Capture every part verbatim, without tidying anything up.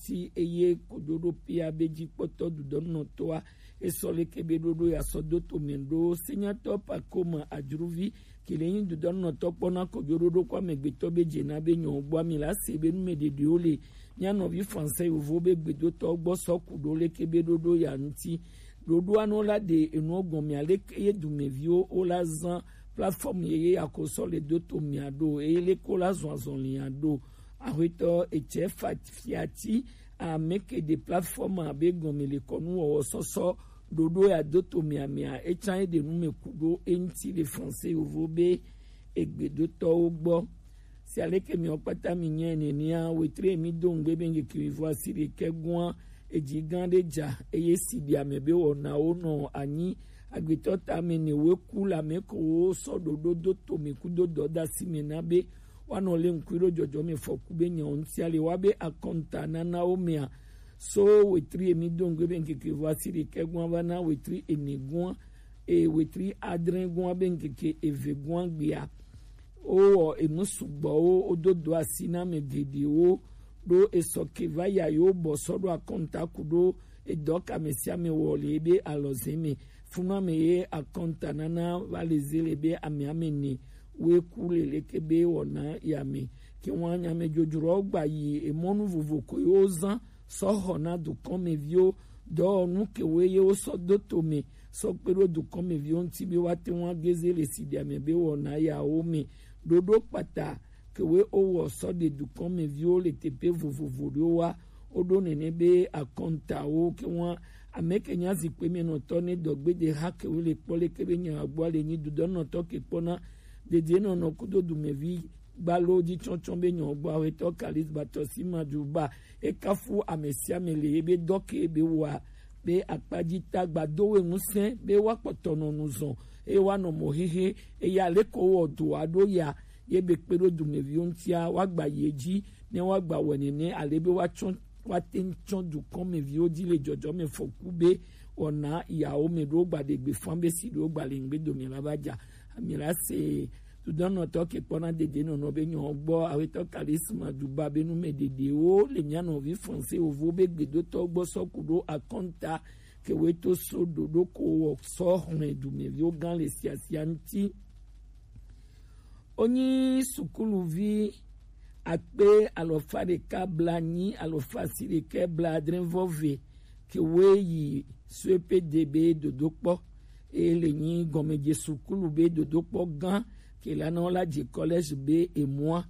ti eye kojoɖo pia be jikpɔtɔ dudɔnɔtɔa esɔ leke be ɖoɖo ya sɔ do to mɛ ɖo senyatɔ pakoma ajruvi kele nyi dudɔnɔtɔ kpɔna kojoɖoɖo kɔ amegbetɔ be jena be nyɔ gbɔ ami la se be numɛ ɖeɖewo le mia nɔvi français yovo be gbedotɔ gbɔ sɔ ku ɖo leke be ɖoɖo ya ŋuti. Ɖoɖoa nɔ la ɖe enuɔ gɔn mia leke ye dumɛviwo wo la zan plateforme ye ye akosɔ le do to mia ɖo eye leke wo la zɔn azɔn lia ɖo. Axwetɔ etsɛ fiati ameke de plateforme abe gɔnme le kɔnu wɔwɔ sɔsɔ ɖoɖo ya do to mia mia etsan ye de nu me ku ɖo eŋti le français yovo be egbedotɔwo gbɔ. Si aleke miwo kpata mi nyɛ nenea wetre mi do ŋgbe be ŋkeke mi vɔ asi ɖekɛ gua eji gã ɖe ja eye si bia me be wɔnawo nɔ anyi agbetɔ ta me ne we ku la me ko wo sɔ ɖoɖo do to me ku do dɔdasi me na be woanɔ lé ŋkui ɖo jɔjɔmɛfɔku be nyawo ŋutia le woabe akɔnta nanawo mea. So wetri emi do ŋgbe be ŋkeke vɔ asi ɖekɛ gua va na wetri ene gua eye wetri adre gua be ŋkeke eve gua gbea. Wowɔ enu sugbɔwo wodo do asi na ame geɖewo ɖo esɔ ke va ya yewo bɔ sɔ ɖo akɔnta ku ɖo edɔ ka ame sia ame wɔ le ebe alɔze me. Funu ame ye akɔnta nana va le ze le be ame ame ne woe ku le leke be wɔna ya me. Ke wan ame dzodzrowo gba yi emɔnu vovo ko yewo zan sɔ xɔ na dukɔnmeviwo dɔwɔnu ke wo ye wo sɔ do to me sɔ kpe ɖo dukɔnmeviwo ŋuti be woate ŋu ageze le siɖi ame be wɔna yawo me. Ɖoɖo kpata ke wo wowɔ sɔ ɖe dukɔnmeviwo le teƒe vovovo ɖewo wa woɖo nene be akɔntawo ke ŋua ame ke nya zikpui me nɔtɔ ne dɔgbede ha ke wo le kpɔ leke be nya gbɔ le nyi dudɔnɔtɔ ke kpɔna dedienɔnɔ kudo dumevi gbalo dzi tsɔtsɔ be nyɔ gbɔ awetɔ kalis batɔ si ma ju ba ekafu ame sia ame le ebe dɔ ke be wa be akpadzi ta gbado we ŋusẽ be woakpɔtɔ nɔ nu zɔn eye woanɔ mɔ hehe eye aleko wɔ do aɖo ya ye be kpe ɖo dumeviwo ŋutia woagba yi edzi ne woagba wɔ nene ale be woatsɔ woate ŋu tsɔ dukɔmeviwo dzi le dzɔdzɔme fɔku be wɔna yawo me ɖo gba ɖe gbe fã be si ɖo gba le ŋgbe dome la va dza ami la se dudɔnɔtɔ ke kpɔna dede nɔnɔ be nyɔ gbɔ awetɔ kalisma duba be nu me ɖeɖewo le mia nɔvi français wovo be gbedotɔ gbɔ sɔ ku ɖo akɔnta ke wo to so ɖoɖo ko wɔ sɔ xlẽ dumeviwo gã le siasia ŋuti. Wonyi sukuluvi akpe alɔfa ɖeka blanyi alɔfa si ɖekɛ bladre vɔ ve ke wo yi suepede be dodokpɔ eye le nyi gɔmedze sukulu be dodokpɔ gã ke la nɔ la dze collège be emua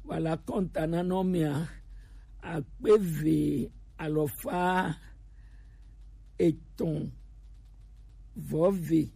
wala kɔnta nanɔ mea akpe ve alɔfa etɔn vɔ ve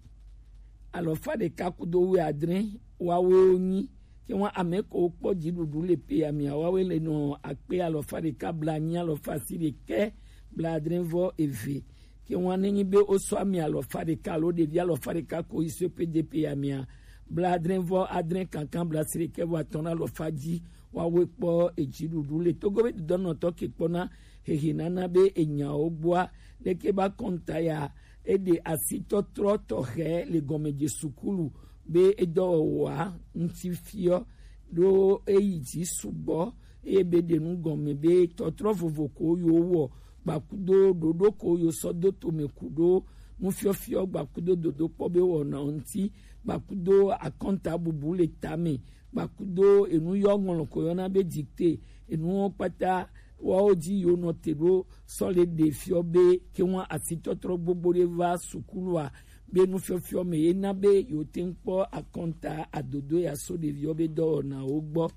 alɔfa ɖeka kudo wuiadre wawoe wonyi ke ŋua ame ko kpɔ dziɖuɖu le pe amia wawoe le nɔ akpe alɔfa ɖeka blanyi alɔfa si ɖekɛ bladre vɔ eve ke ŋua nenyi be wosɔ ami alɔfa ɖeka alo ɖevi alɔfa ɖeka ko yi so pe de pe amia bladre vɔ adre kankan blasi ɖekɛ vɔ atɔn alɔfa dzi wawoe kpɔ edziɖuɖu le togo be dodɔnɔtɔ ke kpɔna hehe nana be enyawo gbɔa leke ba kɔnta ya eɖe asitɔtrɔ tɔxɛ le gɔmedze sukulu be edɔwɔwɔa ŋuti fiɔ ɖo eyi dzi sugbɔ eye be ɖe nu gɔme be tɔtrɔ vovo ko yo wɔ gbakudo ɖoɖo ko yo sɔ do tome ku ɖo nufiɔfiɔ gbakudo dodokpɔ be wɔna ŋuti gbakudo akɔnta bubu le tame gbakudo enu yɔ ŋlɔ ko yɔna be dikte enuwo kpata wawo dzi yo nɔ te ɖo sɔ le ɖe fiɔ be ke ŋua asitɔtrɔ gbogbo ɖe va sukulua be nufiɔfiɔ me ye na be yewo te ŋu kpɔ akɔnta adodo ya so ɖeviwo be dɔwɔnawo gbɔ.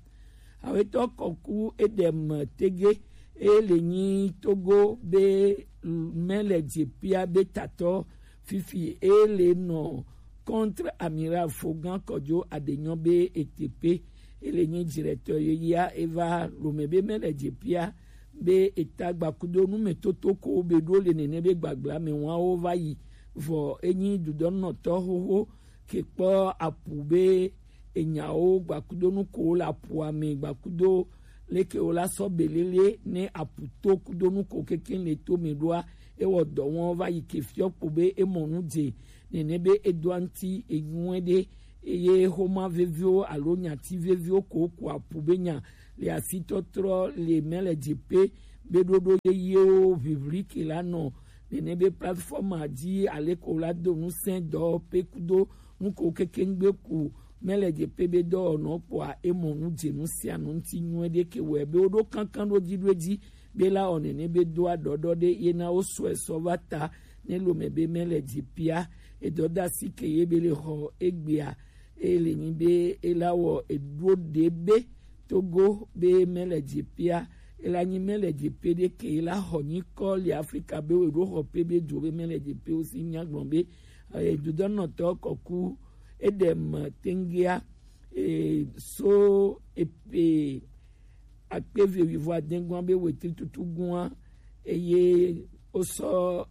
Awetɔ kɔku eɖem tege eye le nyi togo be mɛ le dze pia be tatɔ fifi eye le nɔ contre amiral fogã kɔdzo aɖenyɔ be etepe ele nyi directeur yeyea eva lome be mɛ le dze pia be eta gbakudo numetoto ko be ɖo le nene be gbagbla me wawo va yi vɔ enyi dudɔnɔtɔ xoxo ke kpɔ apu be enyawo gbakudo nu ko le apua me gbakudo leke wo la sɔ belele ne apu to kudo nu ko keke le to me ɖoa ewɔ dɔ wɔn va yi ke fiɔ kpo be emɔ nu dze nene be edoa ŋuti enyuɛ ɖe eye xoma veviwo alo nyati veviwo ko ku apu be nya le asitɔtrɔ le mɛ le dze pe be ɖoɖo yeyewo vivli ke la nɔ nene be platform a dzi, ale ko la do ŋusẽ dɔwɔƒe kudo nuko kekengbe ku mɛlɛ dze pe be dɔwɔnɔ kpɔa emɔ nu dze nu sia nu ŋuti nyuie ɖe ke wɔe be woɖo kankan ɖo dzi ɖo edzi be la wɔ nene be doa ɖɔɖɔ ɖe ye na wo sɔe sɔ va ta ne lome be mɛlɛ dze pia edɔdasi ke ye be le xɔ egbea. Eye le nyi be ela wɔ eɖo ɖe be Togo be mɛlɛ dze pia ela nyi mɛlɛ dze pe ɖe ke ela xɔ nyikɔ le Afrika be wo eɖo xɔ pe be dzo be mɛlɛ dze pe wo si nya gblɔ be edodɔnɔtɔ kɔku eɖe me tengea e, so epe akpe eve wuivo adẽgua be wetri tutu gua eye wosɔ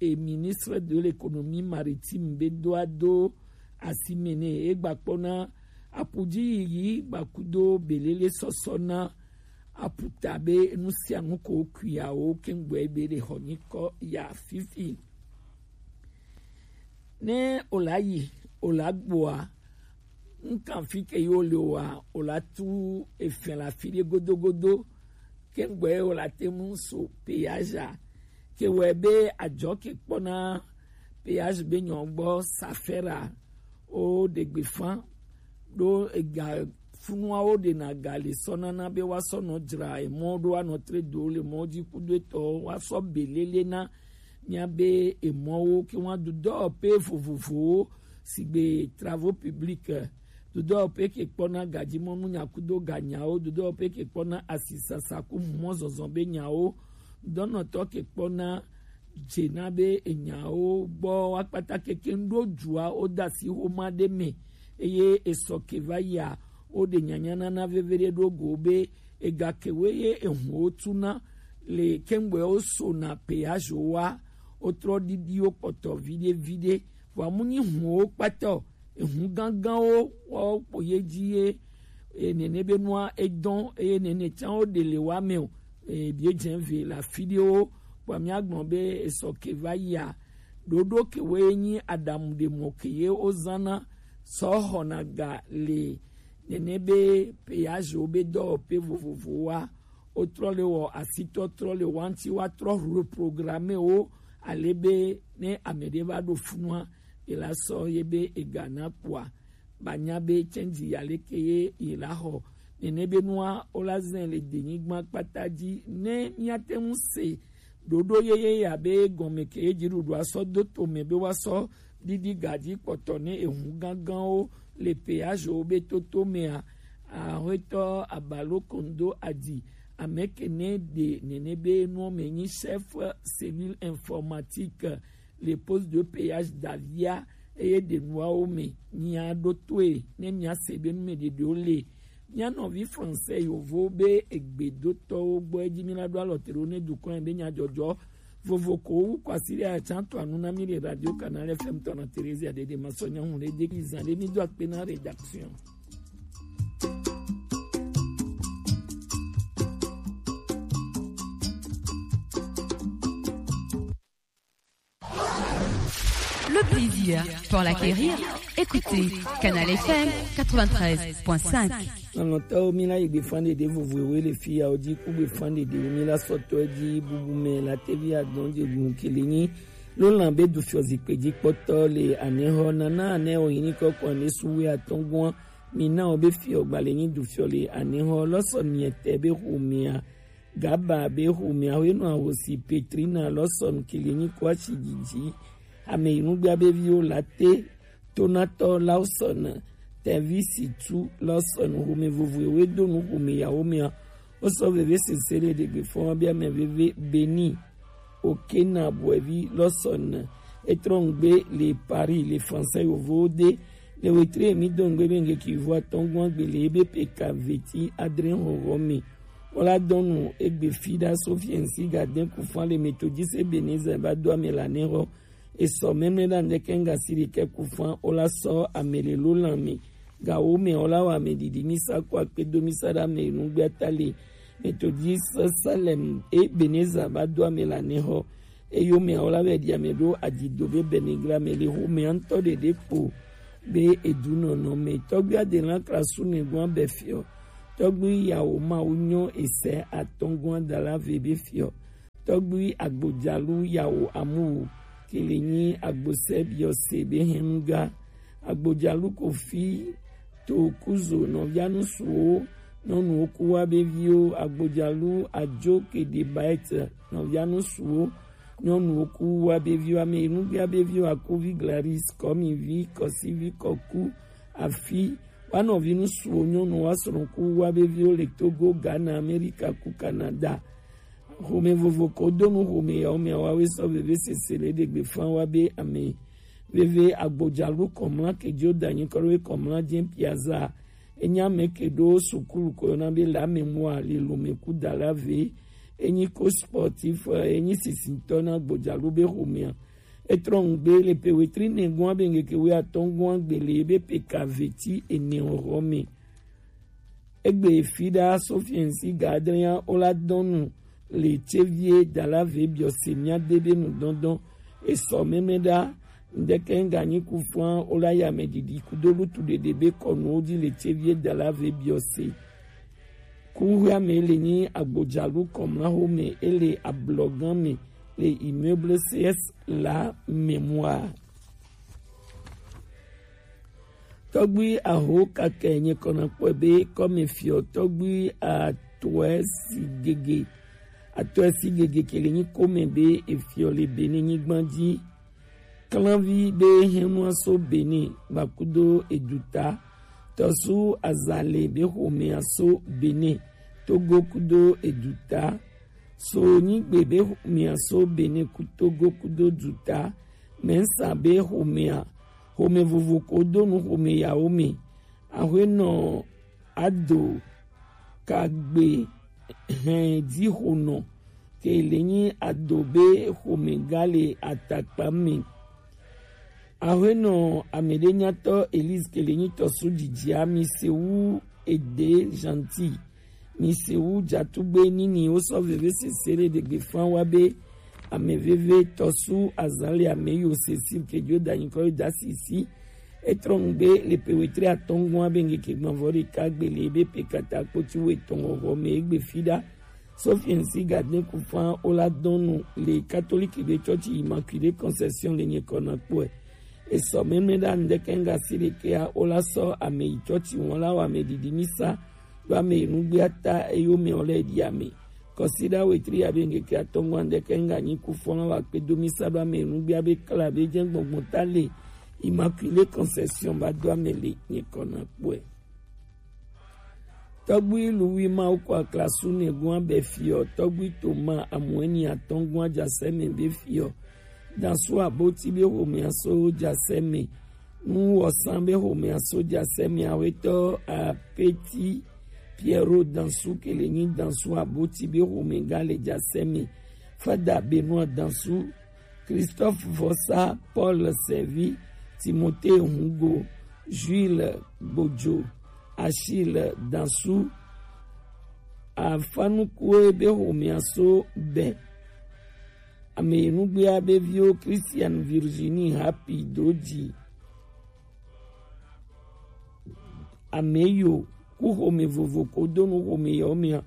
e ministre de l'économie maritime be doa do asime ne egbakpɔna apuji yiyi gbakudo belele sɔsɔ na aputa be nu sia nu ko kuiawo kengbe be le xɔ nyikɔ ya fifi. Ne o la yi o la gbɔa, ŋkan fi ke yo le wa o la tu efɛn la fi ɖe godogodo. Kengbe o la te mu so péage a ke wɛ be ajɔ ke kpɔna péage be nyɔ gbɔ safɛra o ɖegbe fan ɖo ega funuawo ɖena ga le sɔ nana be wa sɔ nɔ dzra emɔ ɖo anɔ tre do le mɔ dzi kudo etɔ wa sɔ belele na míabe emɔwo ke wa dudɔ pe vovovowo sigbe travaux publics, dudɔ pe ke kpɔna gadzimɔnu nyakudo ganyawo, dudɔ pe ke kpɔna asisasa ku mɔzɔzɔ be nyawo, dɔnɔtɔ ke kpɔna dzena be enyawo gbɔ wa kpata keke ŋɖo dzua wo da asi xoma ɖe me eye esɔ ke va yia wo ɖe nyanya nana veve ɖe ɖo go be ega ke wo ye ehu wo tuna le kengbe wo sona péage wa wo trɔ ɖiɖi wo kpɔtɔ viɖe viɖe vɔ amu nyi hu wo kpata o. Ehu gãgãwo woawo kpo ye dzi ye e, nene be nua edɔn eye nene tsã wo ɖe le wa me o. E, bie dze ve le afi ɖewo kpɔ míagblɔ be esɔ ke va yia ɖoɖo ke wo ye nyi aɖamu ɖe mɔ ke ye wo zana sɔ xɔna ga le nene be péage wo be dɔwɔƒe vovovowoa wotrɔ le wɔ asitɔ trɔ le wa ŋuti wa trɔ reprogramme wo ale be ne ame ɖe va ɖo funua ela sɔ ye be ega na kpɔa ba nya be change ya leke ye ye la xɔ nene be nua wo la zɛ le denyigba kpata dzi ne míate ŋu se ɖoɖo yeye ya be gɔme ke ye dziɖuɖua sɔ do to me be wa sɔ ɖiɖi gadzi kpɔtɔ ne ehu gãgãwo le péage wo be toto mea. Axwetɔ Abalo Kondo Adi ame ke ne ɖe nene be nuwo me nyi chef cellule informatique le poste de péage d'Avia eye ɖe nuawo me nya ɖo toe ne mia se be nu me ɖeɖewo le mia nɔvi français yovo be egbedotɔwo gbɔ edzi mi la ɖo alɔ te ɖo ne dukɔ be nya dzɔdzɔ vovo ko wu kwasi ɖe atsa to anu na mi le radio canal F M tɔna Theresia ɖeɖe ma sɔ nya hu ɖe de ki zan ɖe mi do akpe na rédaction. Le plaisir pour l'acquérir. Écoutez Canal F M quatre-vingt-treize point cinq. Nɔnɔtɔwo mi la yi gbe fan ɖeɖe vovovowo le fi yawo dzi ku gbe fan ɖeɖewo mi la sɔtɔ dzi bubu me la tevi adɔn dze gun kele nyi lo lan be du fiɔ zikpe dzi kpɔtɔ le anexɔ nana ane o yi ni kɔkɔ ane suwe atɔngua mi na o be fiɔ gba le nyi du fiɔ le anexɔ lɔsɔ miete be xomea Gaba be xomea hwenɔ ahosi Petrina Lawson kele nyi kɔ ashi dzidzi. Ame yi nugbea be viwo Late, Tonatɔ Lawson, Tevi Situ Lawson, xome vovoewo do nu xome yawo mea. Wosɔ veve sese le ɖegbe fɔn be ame veve Beni Okena Boevi Lawson etrɔ ŋgbe le Paris le français yovowo de le wetre mi do ŋgbe be ŋgeki vo atɔngua gbe le ebe peka veti adre xɔxɔ me. Wala dɔnu egbe fi ɖa so fiɛnsi ga de kufan le metodise Ebenezer ba do ame la ne xɔ. Esɔ mɛmɛ ɖa ŋdɛkɛ ŋga si ɖekɛ kufan wala sɔ ame le lo lan me. Ga wo mɛ wala wa ame ɖiɖi misa ko akpe do misa ɖa me nugbe ata le metodise Salem Ebenezer ba do ame la ne xɔ. Eyo mɛ wala wɛ ɖi ame ɖo adzido be bɛnigla me le xo mɛ ŋutɔ ɖeɖe kpo be edu nɔnɔ me tɔgbi adelan krasu ne gua bɛ fiɔ. Tɔgbui yawo mawu nyɔ esɛ atɔngɔn adala ve be fiɔ. Tɔgbui agbojalu yawo amuwu kele nyi agbosɛ biɔse be hɛnuga. Agbojalu kofi to kuzo nɔvianu suwo nyɔnuwo ku wa be viwo. Agbojalu ajo kede baɛt nɔvianu suwo nyɔnuwo ku wa be viwo. Ame enugbia be viwo akuvi glaris kɔmivi kɔsivi kɔku afi wa nɔvinu suwo nyɔnu wa srɔ̃ku wa be viwo le Togo, Ghana, Amerika ku Canada. Xome vovo ko do nu xome yawo mɛ wa we sɔ veve sese le ɖegbe fan wa be ame veve agbojalu kɔmla kejo danyi kɔɖo we kɔmla jɛ piaza. Enya mɛ ke ɖo sukulu ko yɔna be la mémoire le lome ku dala ve. Enyi ko sportif, enyi sisintɔ na agbojalu be xomea. Etrɔ ŋgbe le pe wetri nɛgɔn abe ŋgeke we atɔngɔn agbele be pe ka veti ene ɔrɔ me. Egbe fi ɖa sofiɛnsi gadria ola dɔnu le tsevie dala ve biɔse mia de be nu dɔndɔn. Esɔ mɛmɛ ɖa ŋdɛkɛ ŋganyi ku fua ola ya mɛ didi kudo lutu ɖeɖe be kɔnuwo di le tsevie dala ve biɔse. Kuhia me le nyi agbojalu kɔmla ho me ele ablɔgan me le immeuble C S la mémoire. Tɔgbui aho kakɛ nye kɔna kpɔe be kɔme fiɔ tɔgbui atɔɛ si gege atɔɛ si gege kele nyi kome be efiɔ le Benin nyigban ji. Klanvi be hɛnua so Benin gbakudo eduta. Tɔsu azale be xomea so Benin Togo kudo eduta. So nyigbe be xomea so Benin ku Togo kudo duta. Mɛnsa be xomea xome vovo ko do nu xome yawo me. Axwenɔ ado kagbe hɛn dixonɔ ke le nyi ado be xome ga le atakpa me. Axwenɔ ameɖenyatɔ Elise ke le nyi tɔsu didi ami se wu ede Gentil. Mi se wu jatugbe nini wo sɔ veve sese le ɖegbe fan wa be ame veve tɔsu azali ame yo sesi kejo da nyikɔ da sisi. Etrɔ ŋgbe le pe wetri atɔngɔn abe ŋgeke gbɔnvɔ ɖeka gbele be pe kata kpoti wo etɔn ɔvɔ me egbe fi ɖa. Sofiensi gadin kufan ola dɔnu le katoliki be tsɔtsi Immaculée Conception le nye kɔna kpɔe. Esɔ mɛmɛ ɖa ŋdɛkɛ ŋga si ɖekea ola sɔ ame yi tsɔtsi wɔn la wɔ ame didi misa ɖo ame yi nugbea ta eyo mɛ ɔlɛ ɖi ame. Kɔsiɖa wetri abe ŋgeke atɔngɔn ŋdɛkɛ ŋga nyi kufan la wɔ akpe do misa ɖo ame yi nugbea be kla be jɛ gbɔngbɔn ta le Immaculée Conception ba do ame le nye kɔna kpɔe. Tɔgbui Luwi Mawu kɔ aklasu nɛgun abɛ fiɔ, tɔgbui Toma amuɛni atɔngɔn ajasɛ mɛ be fiɔ, dansu aboti be xomea so jasɛ mɛ, nu wɔsan be xomea so jasɛ mɛ, awetɔ apeti Piero dansu kele nyi dansu aboti be xome ga le jasɛ mɛ, fada Benoit dansu Christophe Vossa, Paul Servi, Timothée Hungo, Jules Gbodjo, Achille Dansu, Afanukue be xomea so bɛ. Ame yi nugbea be viwo Christian Virginie Happy Doji. Ame yo ku xome vovo ko do nu xome yawo mea.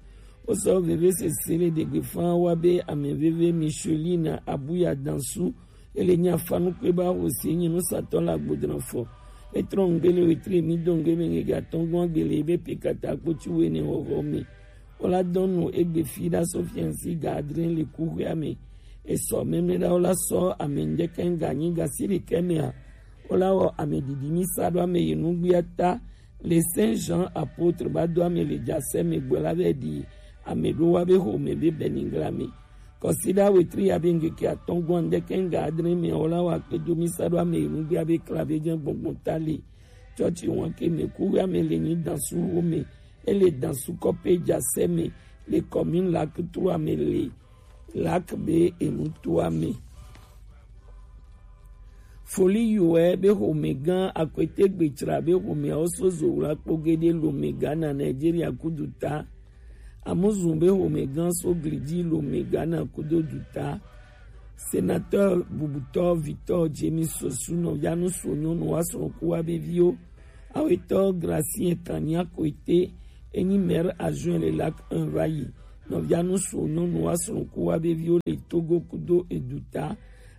Wo sɔ veve sese le ɖegbe fan wa be ame veve Micheline Abuya Dansu ele nya fanu kpe ba wo se nyi nu satɔ la gbodran fɔ. Etrɔ ŋgbe le wetri mi do ŋgbe me ŋgege atɔngɔn gbele be pe kata kpotsi wene xɔxɔ me. Wo la dɔnu egbe fi ɖa so fiansi ga adre le kuxea me. Esɔ mɛmɛ ɖa wo la sɔ ame ŋdɛkɛ ŋga nyi ga si ɖekɛ mea. Wo la wɔ ame didi mi sa ɖo ame yi nugbea ta le Saint Jean apôtre ba do ame le jasɛ me gbɔ la vɛ ɖi ame ɖo wa be xome be bɛnigla me. Kɔsiɖa wetri ya be ŋgeke atɔngɔn ŋdɛkɛ ŋga adre me wo la wɔ akpe do mi sa ɖo ame yi nugbea be kla be jɛ gbɔngbɔn ta le. Tsɔtsi wɔn ke me kuxea me le nyi dansu wo me. Ele dansu kɔpe jasɛ me le commune Lac Trois me le Lac be enutoa me. Foli yoɛ be xomegã akwete gbetsra be xomeawo so zo wla kpogede lomegã na Nigeria kudu ta. Amuzun be xomegã so glidi lomegã na kudo duta. Sénateur bubutɔ Victor James Sosu nɔ yanu so nyɔnu wa srɔ̃ ku wa be viwo. Awetɔ Gracien Kanya Koete Enyi maire adjoint le Lac un va yi. Nɔvia nusu nyɔnu wa srɔ̃ku wa be viwo le Togo kudo eduta.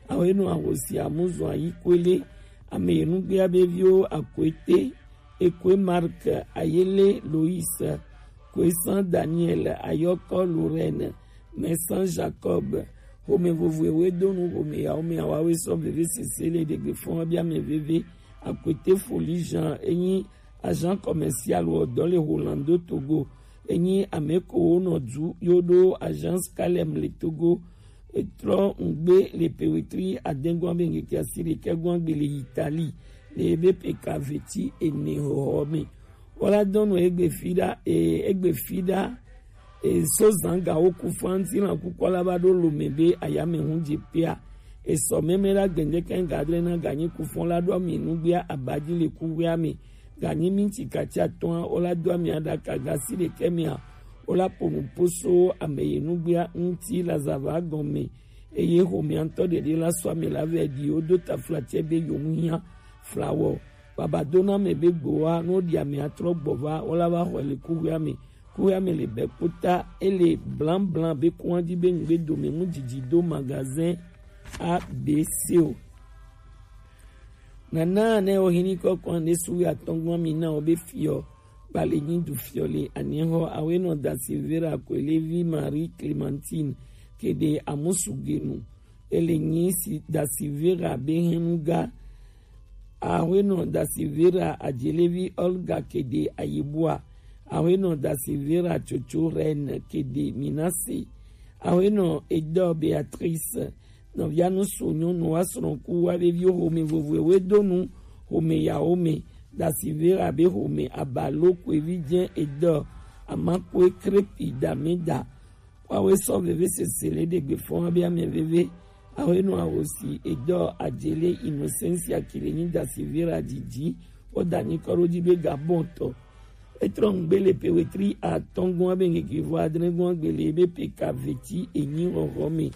Awe nɔ ahosi amuzɔn ayi kwele. Ame enugbea be viwo Akwete, Ekwe Marc, Ayele Lois, Kwesan Daniel, Ayɔkɔ Lorraine, Mɛsan Jacob, xome vovo ewe donu xome yawo me awawe sɔ veve sese le ɖegbe fɔn wa be ame veve. Akwete Foli Jean enyi agent commercial wɔ dɔ le Holando Togo. Enyi ame ko wo nɔ du yo ɖo agence Calem le Togo. Etrɔ ŋgbe le pewetri adengɔn be ŋkeke asi ɖekɛ gɔn gbe le Italie le ebe peka veti ene xɔxɔ me. Wala dɔnu egbe fi ɖa e egbe fi ɖa e so zanga wo ku fanti na kukɔ la ba ɖo lome be ayame hu dze pea. Esɔ meme la gbendeke gadre na ganyi kufɔn la ɖo ami nugbea abaji le kuwea me. Ganyi minti katsi atɔa wo la do ami aɖaka gasi ɖekɛ mea wo la ƒo nu ƒo so ame yi nugbea ŋuti la zava gɔme. Eye xomea ŋutɔ ɖeɖe la sɔ ame la vɛ ɖi wo do taflatse be yewo hiã flawɔ. Baba do na ame be gbowa ne woɖi ame atrɔ gbɔ va wo la va xɔe le kuxɔa me. Kuxɔa me le bɛ kpota ele blaŋblaŋ be kua dzi be ŋugbe dome mu didi do magazin A B C o. Nana ne wo hini kɔkɔ ne suwi atɔngɔn mi na wo be fiɔ. Kpale nyi du fiɔ le anihɔ awe nɔ da Silvera Kwelevi Marie Clementine kede amusugenu. Ele nyi si da Silvera be henuga. Awe nɔ da Silvera Ajelevi Olga kede ayibua. Awe nɔ da Silvera Tsotso Reine kede Minase. Awe nɔ Edɔ Beatrice. Nɔvia nu so nyɔnu wa srɔ̃ku wa veviwo xome vovoewo do nu xome yawo me. Da Silvera be xome abalo kwevi dze Edɔ amakwe krepi da me da. Wawe sɔ veve sese le ɖegbe fɔn wa be ame veve. Awe nɔ awosi Edɔ Ajele Innocencia kile nyi da Silvera didi. Wo da nyi kɔ ɖo dzi be Gabon tɔ. Etrɔ ŋgbe le pewetri atɔngɔn abe ŋkeke vɔ adrɛngɔn agbele ebe peka veti enyi xɔxɔ me.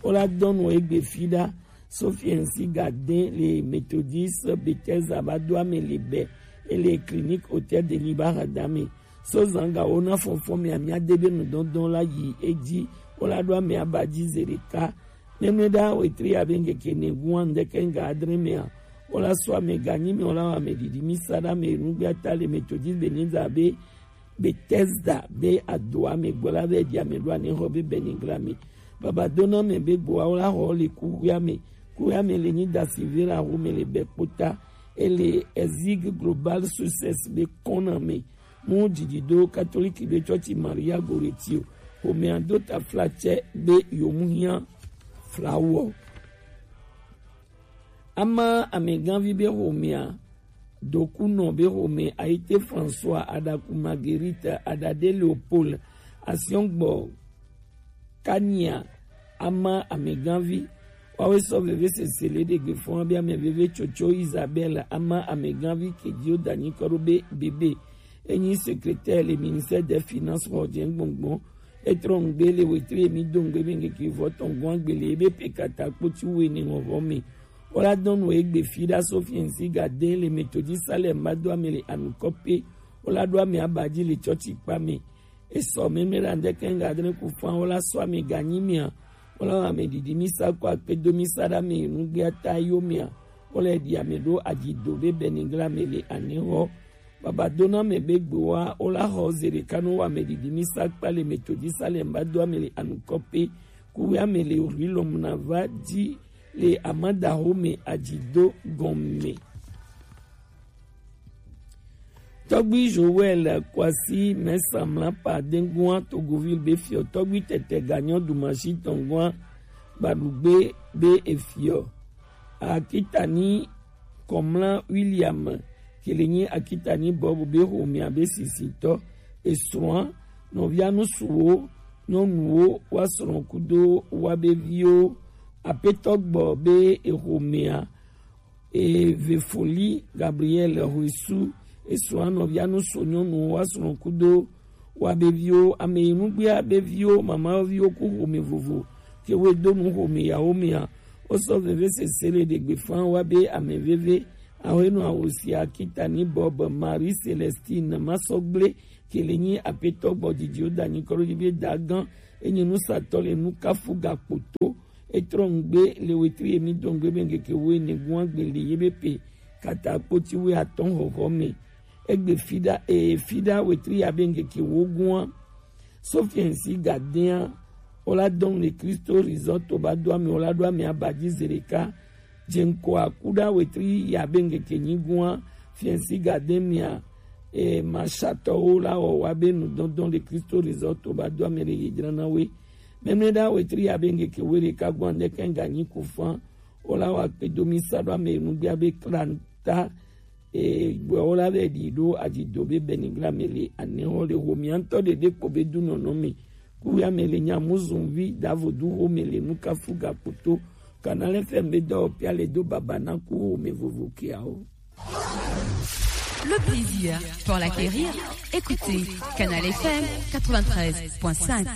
Wola dɔnu egbe fi ɖa. Sofiensi Gaden le Methodist Bethesda ba do ame le bɛ ele clinique Hôtel de Libarada me. So zanga wo na fɔnfɔn me amia de be nu dɔndɔn la yi edzi. Wola do ame aba dzi ze ɖeka. Nɛnɛ ɖa wetri abe ŋkeke ne gun andeke ŋga adre mea. Wola so ame ganyi me wola wa ame didi mi sa ɖa me nugbe ata le Methodist Bethesda be Bethesda be adoa me gbɔ la be di ame ɖo ane xɔ be Beniglame. Baba dona me be gboa wola xɔ le kuxia me. Kuxia me le nyi da Silvera xo me le bɛ kpota. Ele Ezig Global Success be kɔna me. Mu didi do Katoliki be tsɔtsi Maria Goretti o. Xomea do taflatse be yomu hiã flawɔ. Ama ameganvi be xomea, dokunɔ be xome, Ayite François, Adaku Marguerite, Adade Leopold, Asiɔngbɔ Kania, ama ameganvi. Wawe sɔ veve sese le ɖegbe fɔn be ame veve Tsotso Isabelle, ama ameganvi kedio danyi kɔ ɖo be bebe. Enyi secrétaire le ministère des finances xɔ dze gbɔngbɔn. Etrɔ ŋgbe le wetri emi do ŋgbe be ŋkeke vɔ tɔn gɔn agbele ebe pekata kpoti wene ŋɔvɔ me. Wola dɔnu egbe fi ɖa Sofiensi Gaden le Methodist Salem ba do ame le anukɔ pe. Wola do ame aba dzi le tsɔtsi kpa me. Esɔ meme ɖa ŋdeke ŋga adre ku fan wola sɔ ame ganyi mea. Wola wa ame didi mi sa kɔ akpe do mi sa ɖa me nugbe ata yo mea. Wola ɖi ame ɖo adzido be Beniglame le anehɔ. Baba dona me be gboa wola xɔ ze ɖeka no wa ame didi mi sa kpa le Methodist Salem ba do ame le anukɔ pe. Kuwe ame le rilɔm na va dzi le amadaho me adzido gɔme. Tɔgbi Joël Kwasi Mɛsa Mlapa Dengua Togoville be fiɔ tɔgbi tɛtɛ ganyɔ dumasi tɔngua gbadugbe be efiɔ. Akitani Kɔmla William kele nyi Akitani Bob be xomea be sisitɔ. Esrɔ̃a nɔvia nusuwo nyɔnuwo wa srɔ̃ kudo wa be viwo. Apetɔ gbɔ be exomea Eve Foli Gabriel Hoesu, esrɔ̃a nɔvia nu so nyɔnu wa srɔ̃ kudo wa be viwo, ame yi nugbea be viwo, mama viwo ku xome vovo, ke wo do nu xome yawo mea, wo sɔ veve sese le ɖegbe fan wa be ame veve, awo enu awo sia Kitani Bob, Marie Celestine, Masɔgble, ke le nyi apetɔ gbɔ didi o da nyi kɔɖo dzi be da gan enyi nusatɔ le nukafu gakpoto. Etrɔ ŋgbe le wetri emi dɔn gbe be ŋgeke wo ene gua gbe le ye be pe kata kpoti we atɔn hɔhɔ me. Egbe fida e fida wetri ya be ŋgeke wo gua. Sofiɛnsi gadea o la dɔn le Kristo Resort to ba do ame o la do ame aba dzi zi ɖeka. Dze ŋkɔ akuɖa wetri ya be ŋgeke nyi gua. Fiɛnsi gademia e mashatɔwo la wɔ wa be nudɔndɔn le Kristo Resort to ba do ame le ye dzra na we. Mɛmɛ ɖa wetri ya be ŋgeke we ɖeka gua ŋdɛ kɛn ganyi ku fan. O la wa kpe do mi sa ɖo ame nugbea be klanta. E gbɔ o la be ɖi ɖo adzido be bɛnigla me le anɛ hɔ le ho mi antɔ ɖeɖe kpo be du nɔnɔ me. Ku ya me le nya muzun vi davo du ho me le nukafu gakpoto. Kana le fɛn be dɔ pia le do baba na ku ho me vovo kia o. Le plaisir pour l'acquérir, écoutez Canal F M quatre-vingt-treize point cinq.